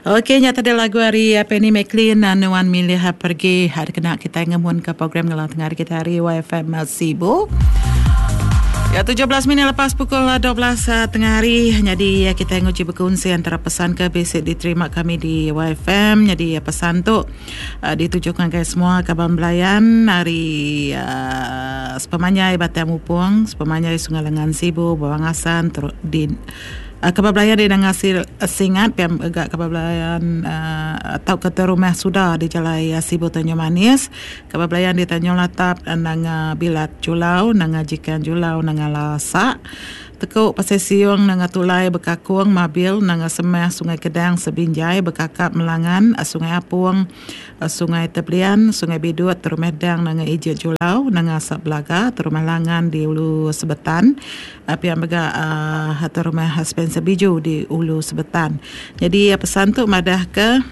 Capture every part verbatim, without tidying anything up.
Okey, nya tadi lagu hari Penny McLean Nuan Milih Pergi hari kena kita ngemun ke program ngelang tengah hari kita hari Y F M Sibu. Ya, tujuh belas minit lepas pukul dua belas tengah hari. Jadi kita nguji berkongsi antara pesan ke basic diterima kami di Y F M. Jadi pesan tu uh, ditujukan ke semua kaban belayan hari uh, sepemanjai Batang Mupung, sepemanjai Sungai Lengan Sibu, Bawang Asan, ter- di uh, kaban belayan di Nangasi Singat, piam agak kaban belayan uh, atau ke rumah sudah di Jalai Sibu Tanjung Manis, kaban belayan di Tanjung Latap, Nanga Bilat Julau, Nanga Jikan Julau, Nanga Lasak, Tekuk Pasir Siung, Nanga Tulai, Bekakung, Mabil, Nanga Semah, Sungai Kedang, Sebinjai, Bekakap, Melangan, Sungai Apung, Sungai Teblian, Sungai Bidut, Terumah Dang, Nanga Ijit Julau, Nanga Asap Belaga, Terumah Langan di Ulu Sebetan, pihak mega uh, Terumah Spencer Biju di Ulu Sebetan. Jadi pesan tu madah ke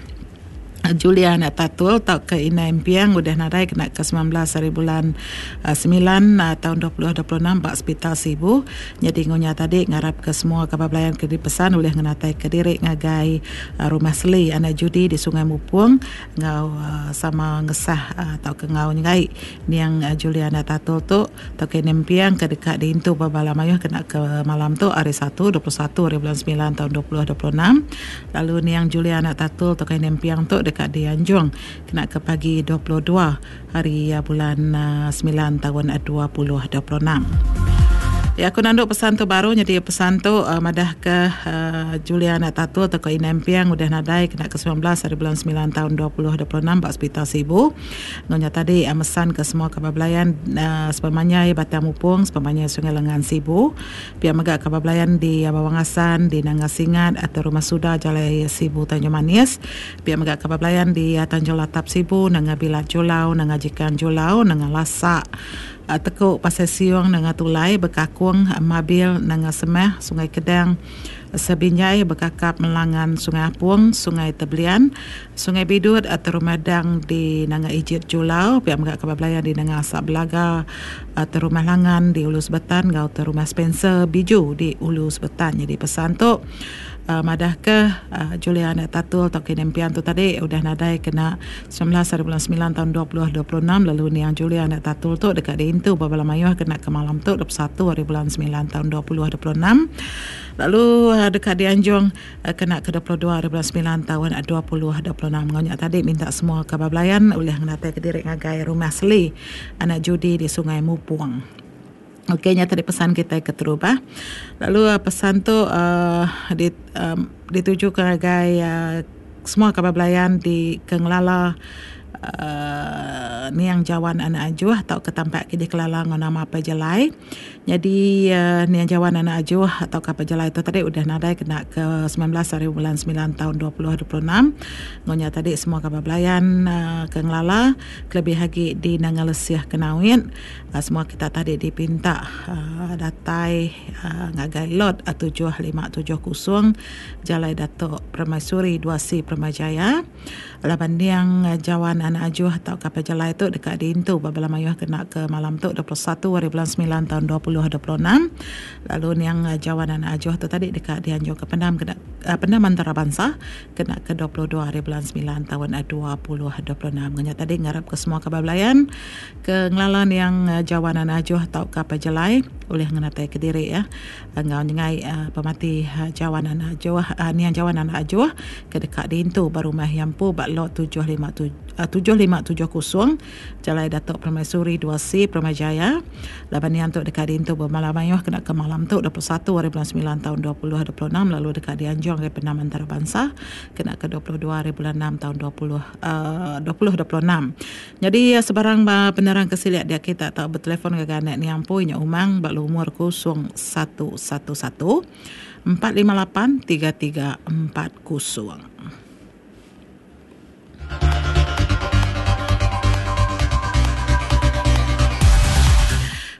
Julia anak Tatul atau ke Ina Impiang udah nadai kena ke sembilan belas hari bulan uh, sembilan uh, tahun dua ribu dua puluh enam bak Hospital Sibu. Jadi ngunya tadi ngarap ke semua kabar belayan ke dipesan oleh ngenatai ke diri ngagai uh, rumah Seli anak Judi di Sungai Mupung ngau uh, sama ngesah uh, atau ke ngau ngai niang uh, Julia anak Tatul tu atau ke Ina Impiang ke dekat di Intu Babala Mayuh kena ke malam tu hari Satu dua puluh satu hari bulan sembilan tahun dua ribu dua puluh enam. Lalu niang Julia anak Tatul atau ke Ina Impiang tu dekat di Anjung kena ke pagi dua puluh dua hari bulan sembilan tahun dua ribu dua puluh enam. Ya, aku nanduk pesan tu baru jadi pesan tu uh, madah ke uh, Julia anak Tatul atau ke Ina Impiang udah nadai kena ke sembilan belas hari bulan sembilan tahun dua ribu dua puluh enam bak Hospital Sibu. Ngonya tadi uh, mesan ke semua kabar belayan uh, sepemanjai Batang Mupung, sepemanjai Sungai Lengan Sibu. Pihak mega kabar belayan di uh, Bawang Asan, di Nanga Singat atau Rumah Suda Jalai Sibu Tanjung Manis. Pihak mega kabar belayan di uh, Tanjung Latap Sibu, Nanga Bilat Julau, Nanga Jikan Julau, Nanga Lasak, Tekuk Pasir Siung, Nanga Tulai, Bekakung, Mabil, Nanga Semah, Sungai Kedang, Sebinjai, Bekakap, Melangan, Sungai Apung, Sungai Teblian, Sungai Bidut atau Rumah Dang di Nanga Ijit Julau, pihak megak kabar belayan di Nanga Asap Belaga atau Rumah Langan di Ulu Sebetan, gau Rumah Spencer Biju di Ulu Sebetan. Jadi pesan tu Uh, madah ke uh, Julia anak Tatul atau Ina Impian tu tadi udah nadai kena sembilan belas hari bulan sembilan tahun dua ribu dua puluh enam. Lalu niang Julia anak Tatul tu dekat di Intu Babala Mayuh kena ke malam tu dua puluh satu hari bulan sembilan tahun dua ribu dua puluh enam. Lalu uh, dekat di Anjung uh, kena ke dua puluh dua hari bulan sembilan tahun dua ribu dua puluh enam. Ngonyak tadi minta semua kabar belayan oleh ngenatai ke diri ngagai Rumah Seli anak Judi di Sungai Mupung. Okey, nya tadi pesan kita ke terubah. Lalu uh, pesan tu uh, di, um, ditujukan ngagai uh, semua kabar belayan di Kengelala uh, niang Jawan anak Ajuh atau ke tampak di Kelala ngau nama apa Jelai. Jadi uh, niang Jawan anak Ajuh atau ke apa Jelai tu tadi udah nadai kena ke sembilan belas hari bulan sembilan tahun dua ribu dua puluh enam. Ngonya tadi semua kabar belayan uh, ke Ngelala kelebih lagi di Nangalesiah Kenawit. Uh, semua kita tadi dipinta uh, datai uh, ngagai lot tujuh lima tujuh kosong Jalai Datuk Permaisuri dua C Permajaya. Laban niang Jawan anak Ajuh atau kapal Jalai tu dekat di Intu Babala Mayuh kena ke malam tu dua puluh satu hari bulan sembilan tahun dua ribu dua puluh enam. Lalu niang Jawan anak Ajuh tu tadi dekat di Anjung ke Pendam kena uh, Pendam Antarabangsa kena ke dua puluh dua hari bulan sembilan tahun dua ribu dua puluh enam. Ngenya tadi ngarap ke semua kabar belayan ke ngelalan yang Jawan anak Ajuh atau kapal Jalai oleh ngenatai ke diri ya. Ngau nyengai uh, pemati uh, Jawan anak Ajuh uh, niang Jawan anak Ajuh ke dekat di Intu Barumah Yampu bak lot tujuh lima tujuh kosong Jalai Datuk Permaisuri dua C Permajaya. Laban niang tu dekat di Intu Bermalam Mayuh kena ke malam tu dua puluh satu hari bulan sembilan tahun dua ribu dua puluh enam. Lalu dekat di Anjung ke Pendam Antarabangsa kena ke dua puluh dua hari bulan enam tahun dua ribu dua puluh enam. Jadi sebarang penerang kesiliak dia kita tak bertelefon ke anak niang pui nya umang bak lumur kosong satu satu satu empat lima lapan tiga tiga empat kosong.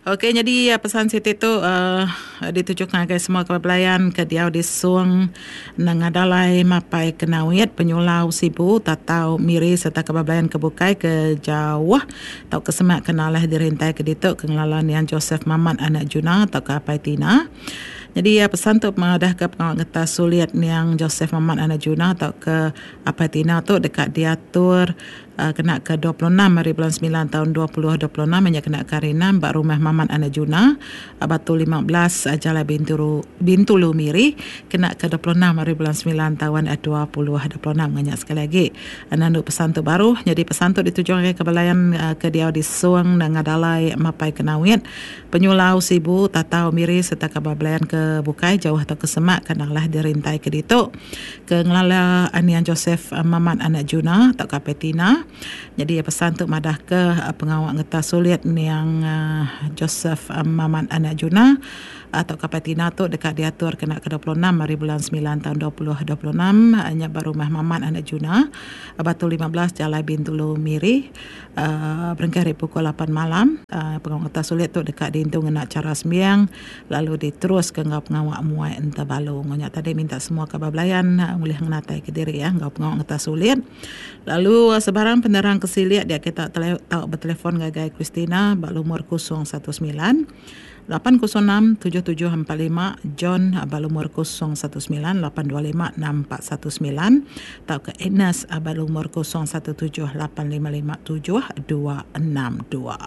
Okey, jadi pesan Siti tu uh, ditujukan kepada semua kepelayan ke diau di Suang Nangadalai Mapai Kenawit Penyulau Sibu Tatau Miri serta kepelayan kebukai ke jauh atau ke semak kenalah dirintai ke dituk ke ngelalan yang Joseph Mamat anak Juna atau ke Apai Tina. Jadi ya, pesan tu mengadah ke pengawal ngetas sulit yang Joseph Mamat Anak Juna atau ke Apai Tina tu dekat diatur uh, kena ke dua puluh enam hari bulan sembilan tahun dua ribu dua puluh enam hanya kena ke hari enam bak rumah Mamat Anak Juna Batu lima belas Jalan Bintulu, Bintulu Miri kena ke dua puluh enam hari bulan sembilan tahun dua ribu dua puluh enam. Banyak sekali lagi nandu pesan tu baru. Jadi pesan tu ditujukan ke belayan ke dia di Suang dan Ngadalai Mapai Kenawit Penyulau Sibu Tatau Miri serta ke belayan ke Bukai jauh atau ke Semak kenalah dirintai ke ditu ke ngelala Anian Joseph Mamat Anak Juna atau ke Petina. Jadi pesan tu madah ke pengawak ngetas sulit yang Joseph Mamat Anak Juna atau ke Petina tu dekat diatur kena ke dua puluh enam hari bulan sembilan tahun dua ribu dua puluh enam nya baru rumah Mamat Anak Juna Batu lima belas Jalan Bintulu Miri uh, berengkah hari pukul lapan malam. Uh, pengawak ngetas sulit tu dekat diintung ngena cara sembiang lalu diterus ke ngau pengawak muai enta balu. Ngonya tadi minta semua kabar belayan boleh ngenatai ke diri ya ngau pengawak ngetas sulit. Lalu sebarang penerang kesiliak dia kita tele, tahu bertelefon gagai Christina bak lumur kosong satu sembilan lapan kosong enam tujuh tujuh empat lima, John bak lumur kosong satu sembilan lapan dua lima enam empat satu sembilan atau ke Agnes bak lumur kosong satu tujuh lapan lima lima tujuh dua enam dua.